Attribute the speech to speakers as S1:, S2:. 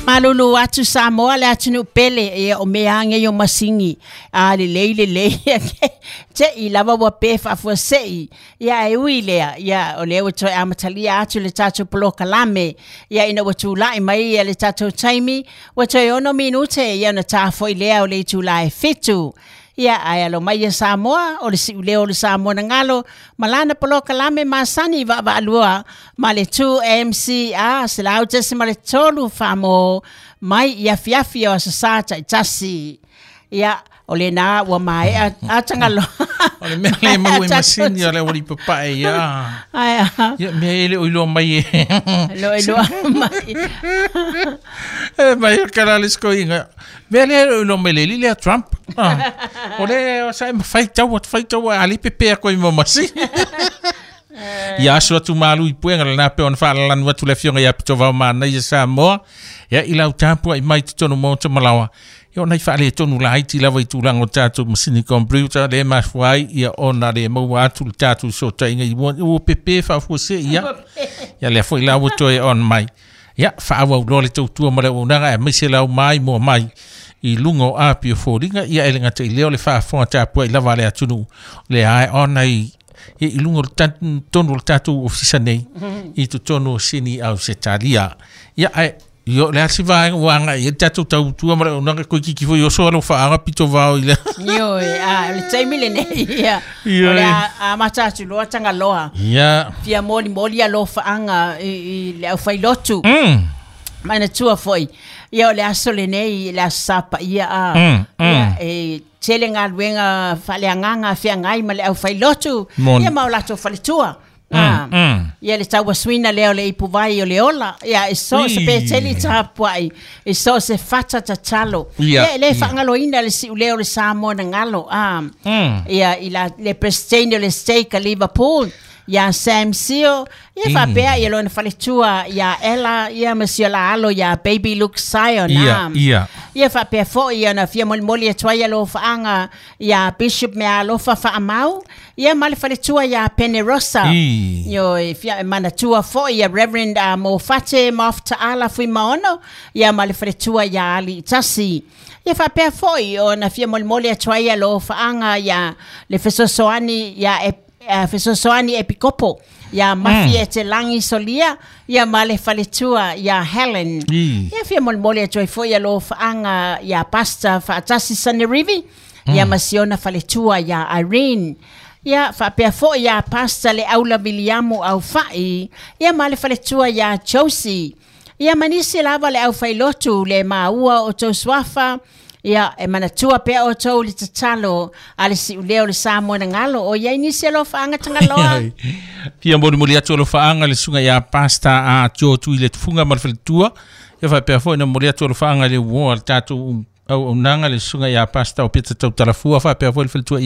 S1: Malulu atu Samoa le atunuu pele ia o mea age o masini a lelei lelei te i lava ua pe faafuasei ia e ui lea ia o lea ua toe amatalia atu le tatou polokalame ia ina ua tula'i mai ia le tatou taimi ua toe 6 minute ia ona tafo'i lea o le itulā e 7. Ia ae alo mai ia Samoa o le si'uleo o le Samoa na galo ma lana polokalame masani vaavaalua ma le 2MCR 100.3 Famo mai i afiafi o aso Sā ta'itasi. Ia o lena ua maea atagalo.
S2: O le mea le mau e masini o le ua papae ia.
S1: Ai
S2: Ia mea ele o iloa mai e.
S1: Lo iloa mai.
S2: E mai o kala le skoinga. Mea le o iloa mai le li lea Trump. Ah. O le o sa e mawhai tau, whai tau a ali pepe a koe mo masini. Ia aso atu malu i puenga le nape ona whaalalanu atu le fionga ia pito vau mana ia Samoa. Ia i lau tāpua i mai te tonu mō te malawa. Ia ona i whaale tonu la haiti lava i tūlanga o tātou masini computer le mafuai ia ona le maua atu le tātou sota inga i ua pepe whaafua se ia. Ia lea foi lau toe on mai. Ia whaawa ulo le tautua ma le unaga e maise lau mai mua mai i lunga o api o fōringa ia ele ngata i leo le whaafonga tāpua i lava le atunu le ae ona i i lunga o le tonu o le tātou ofisa nei i totonu o sini au se talia. Ia ae Io le asi vaenga wanga i tātou tautua ma le unaga koe kiki foi oso alo whaanga pito vao i le.
S1: Io e a le taimi lenei ia. O le a mata atu loa Tagaloa.
S2: Ia.
S1: Fia moli moli alofaaga i le aufailotu. Manatua foi. Ia o le aso lenei le aso Sā paia a. Ia e tele galuega faaleagaga feagai ma le aufailotu.
S2: Moni.
S1: Ia ma o latou faletua. Ah, ia le tauasuina lea o le ipuvai o le ola ia e so se peteli tapua'i e so se fata tatalo. Ia e lē faagaloina le si'ulea o le Samoa na galo a. Ia i la le president o le stake a Liverpool ia Sam Sio ia faapea ia lona faletua ia Ella ia ma sia la alo ia Baby Luke Sion.
S2: Ia,
S1: a.
S2: ia.
S1: Ia faapea fo'i ona fia molimoli atu ai alofaaga ia Bishop Meaalofa Faamau ia ma le faletua ia Penerosa. Io e fia e manatua fo'i ia Reverend Mofate Maoftaala Fuimaono ia ma le faletua ia Ali Itasi. Ia faapea fo'i ona fia molimoli atu ai alofaaga ia le fesoasoani ia e fesoasoani epikopo ia Mafi e te langi solia ia ma le faletua ia Helen. Ia fia molimoli atu ai fo'i alofaaga ia Pastor Faatasi Sanerivi ia ma siona faletua ia Irene. Ia faapea fo'i ia Pastor le Aula Viliamu Aufa'i ia ma le faletua ia Josie. Ia manisi lava le aufailotu le maua o tou suafa ia e manatua pea o tou le tatalo a le si'ulea o le Samoa na galo o iai nisi alofaaga Tagaloa.
S2: Fia moli moli atu alofaaga le suga ia pasta a tio tu i le tufunga ma le faletua. Ia faapea foi na moli atu alofaaga le uoa le tātou au aunaga le suga ia pasta o Peta Tautalafua faapea foi le faletua.